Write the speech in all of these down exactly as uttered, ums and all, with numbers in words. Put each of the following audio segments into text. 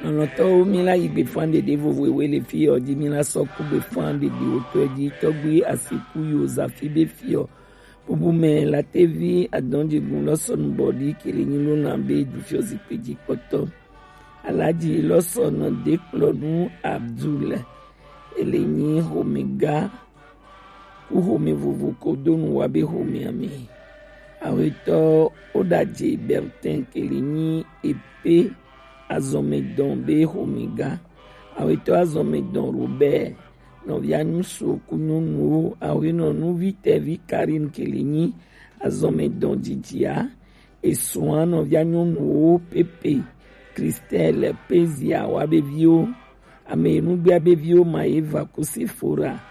Lɔlɔ̃tɔwo, mi la yi gbe fan ɖeɖe vovo ewe le fi ɔ ji, mi la sɔ ku gbe fan ɖeɖe wotɔ ji. Tɔgbi Asiku yo zafi be fi ɔ. Bubu mɛ la tevi adɔn jigun lɔsɔnu bɔdi kele nyi lona be du fiɔ zikpe ji kpɔtɔ. Alaji lɔsɔnu de kplɔ nu Abdul. Ele nyi homega ku home vovo ko do nu wa be homea mɛ. Awetɔ Odaje Bertin kele nyi epe azɔmedɔn be homega. Awetɔ azɔmedɔn Robert nɔvia nyusu ku nyɔnuwo. Awenɔ nuvi tɛvi Karine kele nyi azɔmedɔn jijia. Esua nɔvia nyɔnuwo Pepe, Christelle, Pezia wa be viwo. Ame nugbea be viwo ma ye va ku Sephora.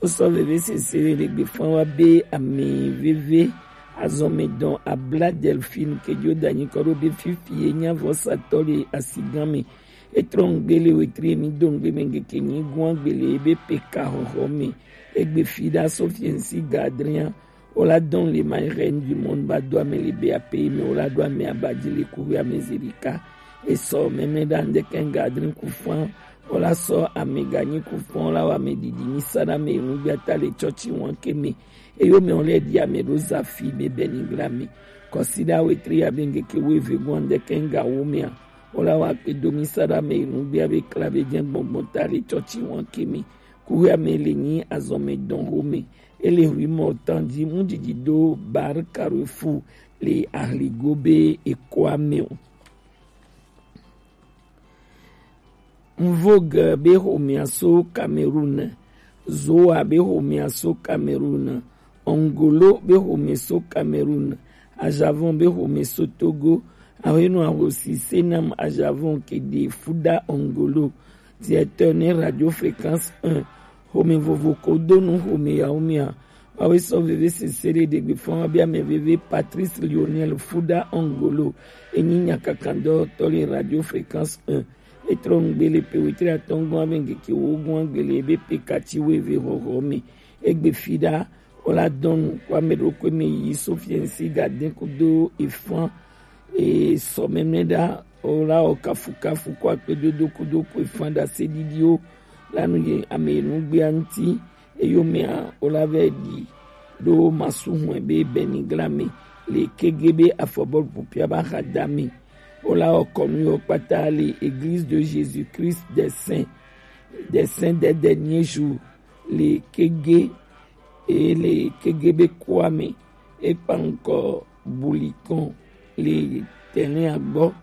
Wosɔ veve sese le gbe fan wa be ame veve azɔmedɔn Abla Delphine ke jo danyi kɔ ɖo be fifi ye nya vɔsatɔ le asigan me. Etrɔ ŋgbe le wetri emi do ŋgbe me ŋgeke nyi gua gbele ebe peka xɔxɔ me. Egbe fi ɖa Sofiensi Gadria. Wola dɔn le ma reine du monde ba do ame le be ape me wola do ame abaji le kuwe ame zerika. Esɔ mɛmɛ ɖa ŋdeke ŋgadri kufan. Wola sɔ ame ganyi kufan wola wa ame didi mi sa ɖa me enu gbe ata le tsɔtsi wan ke me. Eyo me wole di ame ɖo zafi be beni gla me. Kɔsi ɖa wetri abe ŋgeke wo eve gɔn ŋdeke ŋga wo mea. Wola wa kpe do mi sa ɖa me enu gbe abe kla be jɛ gbɔngbɔn ta le tsɔtsi wan ke me. Kuwe ame le nyi azɔme dɔn ho me. Ele hui mɔ tan ji mu didi do bar Carrefour le ahligo be ekoa me o. Mvogue be homea so Cameroun. Zoa be homea so Cameroun. Ongolo be home so Cameroun. Ajavon be home so Togo. Ahenu ahosi Senam Ajavon kede fuda Ongolo. Directeur ne Radio Fréquence un. Home vovo ko do nu home ya home ya. Wawe sɔ veve sese ɖe ɖegbe fɔn wa be ame veve Patrice Lionel Fuda Ongolo. Enyi nyakakandɔ tɔ le Radio Fréquence un. Etrɔ ŋgbe le pe wetri atɔngɔn ame ŋgeke wo gɔn agbele ebe pe katsi wo eve hɔhɔ me. Egbe fi ɖa wola dɔn nu kɔ ame ɖokui me yi Sofiensi Gadin kudo efan. E sɔ mɛmɛ ɖa wola wɔ kafukafu kɔ akpedodo kudo ko efan ɖa se ɖiɖiwo la nu ye ame nugbea ŋti. Eyomea wola vɛ ɖi ɖo masu hɔn be bɛnigla me le kege be afɔbɔlu pupia ba ha da me. Wola wɔ kɔnu yɔ kpata le Église de Jésus-Christ des Saints, des Saints des Derniers Jours le kege, e le kege be koa me. Ekpa ŋkɔ Bulikɔn le tɛnɛa gbɔ.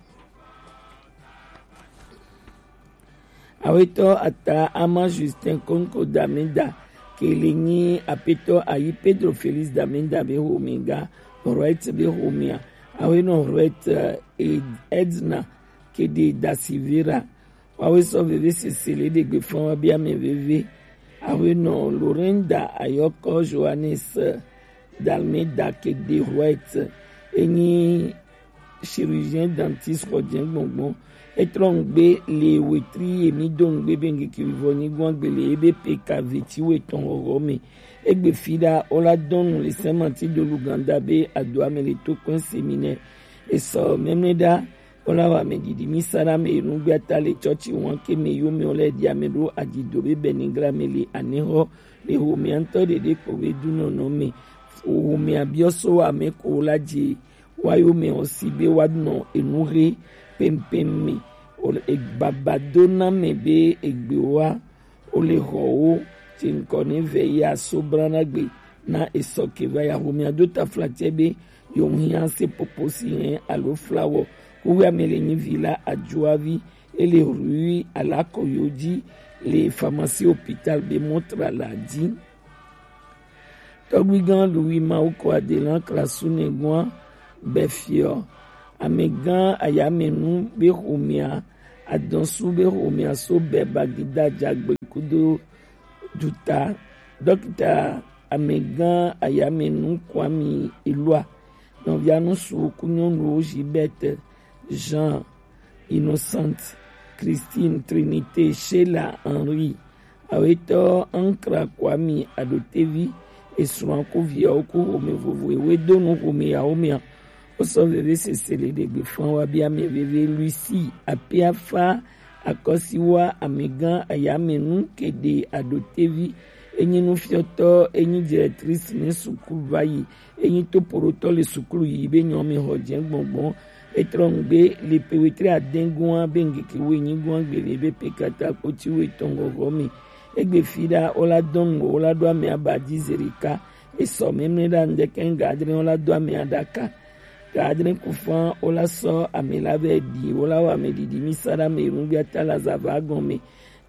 Awetɔ ata ama Justin Konko Damenda kele nyi apetɔ ayi Pedro Felix Damenda be homega, Roet be homea. Awenɔ Roet, eh, Edna kede Dasivera. Wawe sɔ veve sese le ɖegbe fɔn wa be ame veve. Awenɔ Lorenda ayɔkɔ Johannes, eh, Dalmeda kede Roet. Enyi chirurgien dentiste xɔ jɛ gbɔngbɔn. Etrɔ ŋgbe le wetri emi do ŋgbe be ŋgeke vivɔ nyi gɔn gbele ebe pe ka veti wetɔn hɔhɔ me. Egbe fi ɖa wola dɔnu le Saint Martin de l'Ouganda be adoa me le to kɔn séminaire. Esɔ mɛmɛ ɖa wola wa me didi mi sa ɖa me enu gbe ata le tsɔtsi wan ke me yo me wole di ame ɖo adzido be bɛnigla me le anehɔ le homea ŋtɔ ɖeɖe kpo be dunɔnɔ me. Homea biɔ so ame ko la dzi wa yo me o si be wa nɔ enu he pɛmpɛm me. O le e baba do na me be egbe wa o le hɔ wo tsi ŋkɔ ne vɛ ya so brana gbe na esɔ ke va ya homea do taflatse be yo hia se popo si hɛn alo flawɔ. Kuwe ame le nyi vi la adzoavi ele rui alakɔ yo dzi le pharmacie hôpital be montre la dzi. Tɔgbuigã Louis Mawuko Adelan Klasu nɛgɔa bɛ fiɔ amegã ayamɛnu be homea adɔsu be homea so bɛ bagida jagbe kudo duta. Dɔkita amegã ayamɛnu Kwame Elua nɔvia nusu ku nyɔnuwo Gilberte, Jean, Innocente, Christine, Trinité, Sheila, Henri. Awetɔ Ankra Kwame Adotevi esrɔ̃a ku viawo ku home vovo ewe do nu home ya homea. Wosɔ veve sese le ɖegbe fɔn wa be ame veve Lucie Apiafa Akɔsiwa amɛgan ayamɛnu kede aɖotevi, enyi nufiɔtɔ, enyi directrice ne sukulu vayi, enyi topoɖotɔ le sukulu yi be nyɔ mi xɔ jɛ gbɔngbɔn. Etrɔ nugbe le pe wetre adɛn gɔn be ngeke wo enyi gɔn gbele be pe kata kpoti wo etɔn gɔgɔ mi. Egbe fi ɖa wo la dɔn wo la ɖo amɛ aba ji zerika. Esɔ mɛmɛ ɖa ŋdɛkɛ ga adre wo la do amɛ aɖaka. Ga adre kufan wo la sɔ amɛ la vɛ ɖi wo la wɔ amɛ ɖiɖi mi sa ɖa amɛ nugbe ata la zava gɔn mɛ.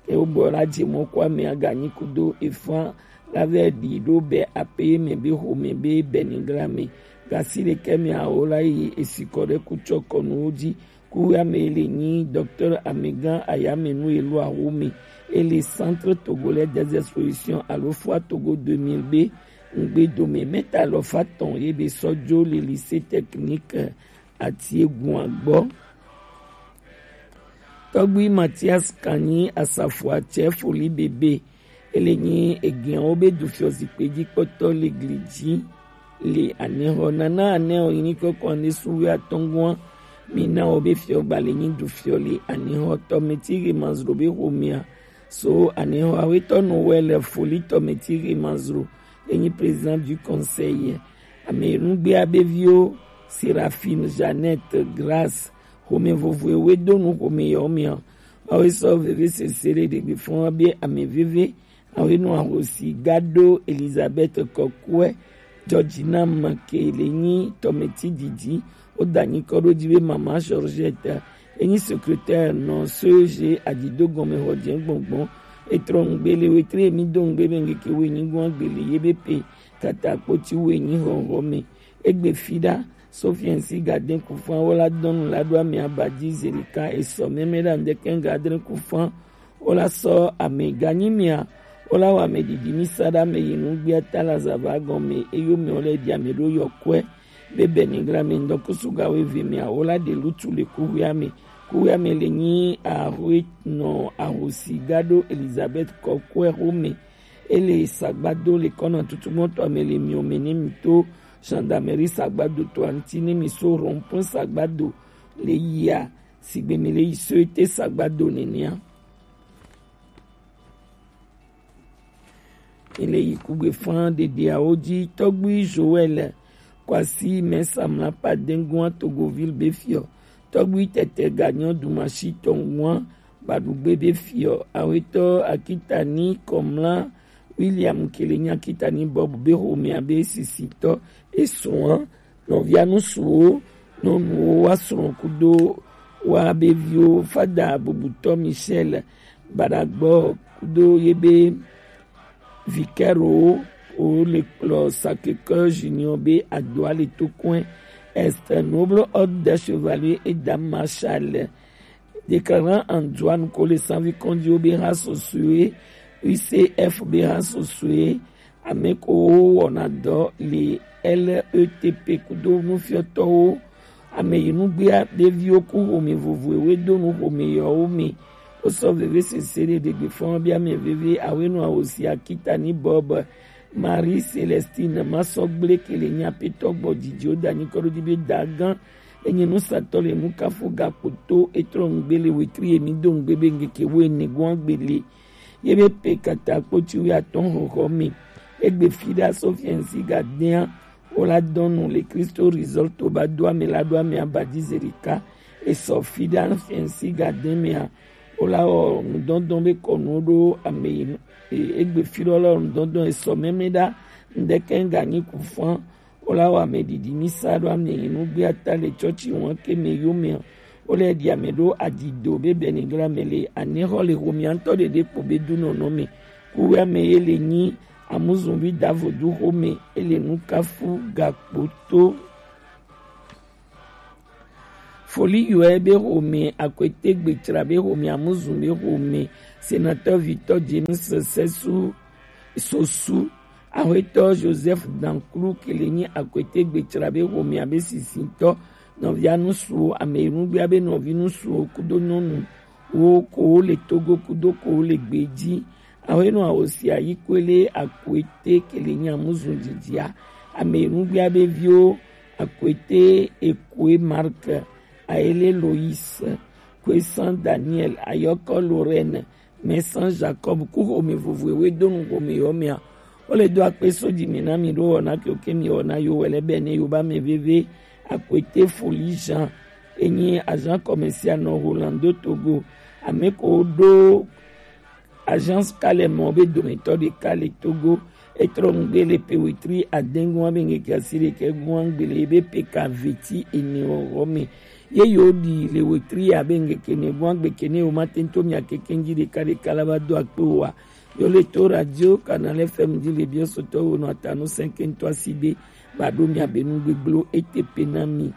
Ke wo gbɔ la je mɔ kɔ amɛ aga nyi kudo efan la vɛ ɖi ɖo bɛ ape mɛ be xo mɛ be bɛ ni gla mɛ. Gasi ɖe kɛ mɛ awo la yi esikɔ ɖe kutsɔ kɔnu wo ji. Kuwɛ amɛ le nyi docteur amɛgan ayamɛnu elo awo mɛ. Ele Centre Togolais des Expositions alo Foire Togo deux mille be ŋgbe dome mɛta lɔfa tɔn ye be sɔ jo le lycée technique Atiegun agbɔ. Tɔgbi Mathias Kanyi asafo atsɛ foli bebe. Ele nyi egiawo be dufiɔ zikpe ji kpɔtɔ le gli ji le anɛxɔ. Nana anɛ o yini kɔkɔ ne suwe atɔngua. Mina o be fiɔ gba le nyi dufiɔ le anɛxɔ tɔ meti ge mazro be xomia. So anɛxɔ awetɔ no wɛ le foli tɔ meti ge mazro. Enyi président du conseil. Ame nugbe abe viwo Seraphine, Jeannette, Grâce, xome vovoe we do nu xome yawo mea. Mawu sɔ veve sese ɖe ɖegbe fɔn be ame veve. Awo nɔ ahosi gado Elizabeth Kɔkuɛ, Georgina Make le nyi tɔmɛti didi. Wo da nyi kɔ ɖo ji be mama Georgette. Enyi secrétaire nɔ C E G adido gɔme xɔ jɛ gbɔngbɔn. Etrɔ nugbe le wetre mi do nugbe be ngeke we nyi gɔn gbele ye be pe kata kpoti we nyi xɔxɔ me. Egbe fi ɖa Sofiɛnsi gadɛn kufan wo la dɔnu la ɖo amɛ aba ji zelika esɔ mɛmɛ ɖa ŋdɛkɛ gadɛn kufan wo la sɔ amɛ ganyi mia wo la wɔ amɛ didi mi sa ɖa amɛ yi nugbia ta la zava gɔme eyo mɛ wo lɛ di amɛ ɖo yɔkuɛ be bɛ nigla mɛ ŋdɔ kusu ga wo eve mia wo la ɖe lutu le kuhua mɛ. Kuhua mɛ le nyi ahue nɔ ahosi ga ɖo Elizabeth Kɔkuɛ xo mɛ. Ele sagbado le kɔna tutu mɔtɔ ame le miome ne mi to gendarmerie sagbado to anti ne mi so rond-point sagbado le yia sigbe mi le yi soete sagbado nenea. Mi le yi kugbe fan ɖeɖeawo ji tɔgbui Joël Kwasi mɛ samla pa dengua Togoville be fiɔ. Tɔgbui tɛtɛ ganyɔ dumasi tɔngua baɖugbe be fiɔ. Awetɔ Akitani Kɔmla William kele nyi Akitani Bob be xomea be sisitɔ. Esua nɔvia nusuwo nɔnuwo wa srɔ̃ kudo wa be viwo fada bubutɔ Michel baɖagbɔ kudo ye be Vicaire wo le kplɔ Sacré-Cœur Junior be adoa le to kɔe. Est un noble ordre des chevaliers et dames maréchales. Déclarant en droit nu ko le sanvi kɔnjiwo be ha sosue, U C F be ha sosue, ame ko wo wɔna dɔ le L E T P kudo nufiɔtɔwo. Ame yi nugbea ɖeviwo ku xome vovoewo do nu xome yɔwo me. Wosɔ veve sese ɖe ɖegbe fɔn bi ame veve awenu awosi Akitani Bob, Marie Celestine Masɔgble kele nyi apetɔ gbɔ dzidziwo da nyi kɔɖo di be dagan enyi nusatɔ le nukafu gakpo to etrɔ nugbe le wetri emi do nugbe be ngeke wo ene gɔn gbele. Ye be pe kata kpoti wi atɔn xɔxɔ me. Egbe fi ɖa Sofiɛnsi gadɛa wo la dɔnu le Kristo Resort to ba do ame la ɖo ame aba ji zerika. Esɔ fi ɖa Sofiɛnsi gadɛ mea wo la wɔ nudɔndɔn be kɔnu ɖo ame yi nu. E- egbe fi ɖɔ la wɔ nudɔndɔn esɔ mɛmɛ ɖa ŋdɛkɛ ŋga nyi ku fɔn. Wo la wɔ ame ɖiɖi mi sa ɖo ame yi nugbea ta le tsɔtsi wɔn ke me yo me. Wo le ɖi ame ɖo adido be bɛnigla me le anexɔ le xomia ŋutɔ ɖeɖe kpo be du nɔnɔ me. Kuwe ame ye le nyi amuzunvi davodu xome ele nukafu gakpo to. Foli yɔe be xome akwete gbetsra be xome amuzun be xome sénateur Victor James Sessu Sosu, axwetɔ Joseph Danklu kele nyi akwete gbetsra be xome abe sisitɔ nɔvia nusuwo ame yi nugbea be nɔvi nusuwo kudo nyɔnu wo ko wo le Togo kudo ko wo le gbeji. Awo enɔ awo si ayi koe le akwete kele nyi amuzun dzidzia. Ame yi nugbea be viwo akwete ekoe Mark, ayele Lois, Kwesant Daniel, Ayɔkɔ Lorraine, Mɛsan Jacob ku xome vovo e we do nu xome yɔ mɛa. Wo le do akpe so ji mi na mi ɖo wɔna ke wo ke mi wɔna yo wɛ lɛ bɛ ne yo ba mɛ veve. Akwete Foli Jean, enyi agent commercial nɔ Rolando Togo, ame ko ɖo agence kalɛ mɔ be dometɔ ɖeka le Togo. Etrɔ ŋgbe le pe wetri adengun abe ŋkeke asi ɖekɛ gun aŋgbe le ebe pe ka veti ene wɔwɔ me. Ye yo ɖi le wetri abe ŋkeke ne gun agbe ke ne wo ma tento mia keke ŋji ɖeka ɖeka la ba do akpe wa. Yo le to radio Canal F M ji le biɔ sotɔ wo nɔ atanu sɛnkɛntɔ asi be ba ɖo mia be nu gbegblɔ ete pe na mi.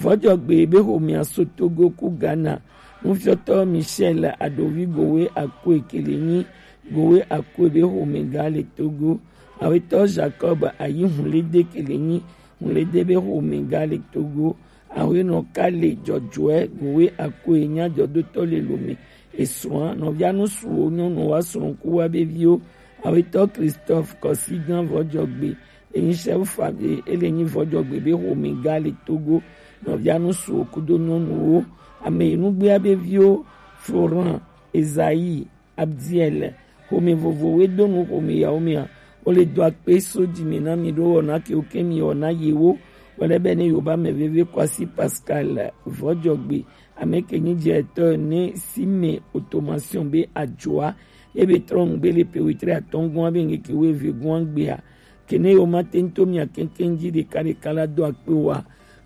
Vɔjɔgbe be xomea so Togo ku Ghana. Nufiɔtɔ Michel Adovi Gowe Akue ke le nyi Gowe Akue be xomega le Togo. Awetɔ Jacob Ayi Hulede ke le nyi Hulede be xomega le Togo. Awenɔ Kale Jɔjɔɛ Gowe Akue nya jɔdotɔ le lome. Esrɔ̃a nɔvia nu suwo nyɔnu wa srɔ̃ ku wa be viwo. Awetɔ Christophe Kɔsigan Vɔjɔgbe enyi chef famille, ele nyi Vɔjɔgbe be xomega le Togo. Nɔvia nu suwo kudo nyɔnuwo, ame yi nugbea be viwo, Florent, Esaïe, Abdiel, xome vovowo do nu xome yawo mea, wo le do akpe so ji mi na mi ɖo wɔna ke wo ke mi wɔna yewo. Wele be ne yo ba mɛ veve Kwasi Pascal Vɔjɔgbe, ame ke nyi jɛ etɔ ne si me automation be ajoa, ebe trɔ ŋgbe le pe wetri atɔngɔn abe ŋkeke weve gɔn agbea. Kene yo ma tento mia keŋkeŋ ji ɖeka ɖeka la do akpe wa.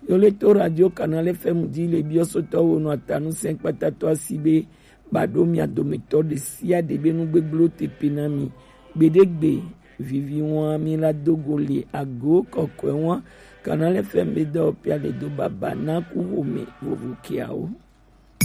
Yo le to radio Canal F M ji le biɔ sotɔ wo nɔ atanu sɛn kpatatɔ asi be ba ɖo mia dometɔ ɖe sia ɖe be nu gbegblẽ te pe na mi. Gbeɖegbe vivi wa mi la do go le ago kɔkɔe wa. Canal F M be dɔ pia le do baba na ku xome vovo kiawo.